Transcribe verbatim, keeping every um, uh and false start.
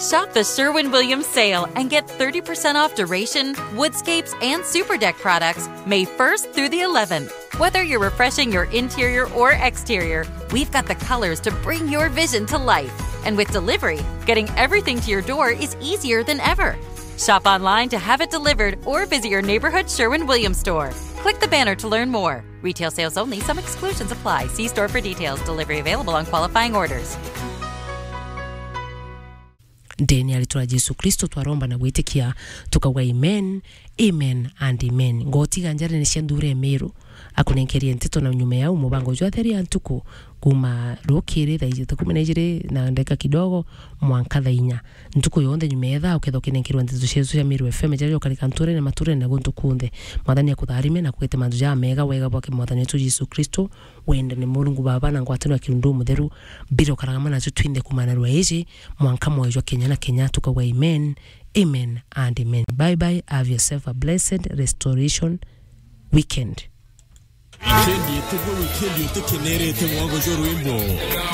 Shop the Sherwin Williams sale and get thirty percent off Duration, Woodscapes, and Super Deck products May first through the eleventh. Whether you're refreshing your interior or exterior, we've got the colors to bring your vision to life. And with delivery, getting everything to your door is easier than ever. Shop online to have it delivered or visit your neighborhood Sherwin Williams store. Click the banner to learn more. Retail sales only, some exclusions apply. See store for details. Delivery available on qualifying orders. Ndeni ya ritwa ria Jesu Kristo twaromba na gwitikia, tukauga amen, amen and amen. Ngotiga njarene cia nthura ya Meru, akunenkerie nteto na nyuma yau mubango jwa theri ya ntuku, kuma rukiri thaa ijiri, ikumi na ijiri na ndagika kidogo, mwanka thaa inya. Ntuku yonthe nyuma ya ithaa, ukethwa ukinenkerwa nteto cietu cia Meru F M, jaria ukarika nturene, maturene na guntu kunthe. Mwathani akutharime na kwite mantu jamega wega bwake Mwathani wetu Jesu Kristo. Wendane Murungu Baba na ngwataniro ya Kirundu Mutheru, mbire ukaraga mana nacio twinthe kumana rwa iji, mwanka mwoyo jwa Kenya na Kenya, tukauga amen, amen and amen. Bye bye, have yourself a blessed restoration weekend. Wikendi ituguo, wikendi utukenerete mwango jwa rwimbo.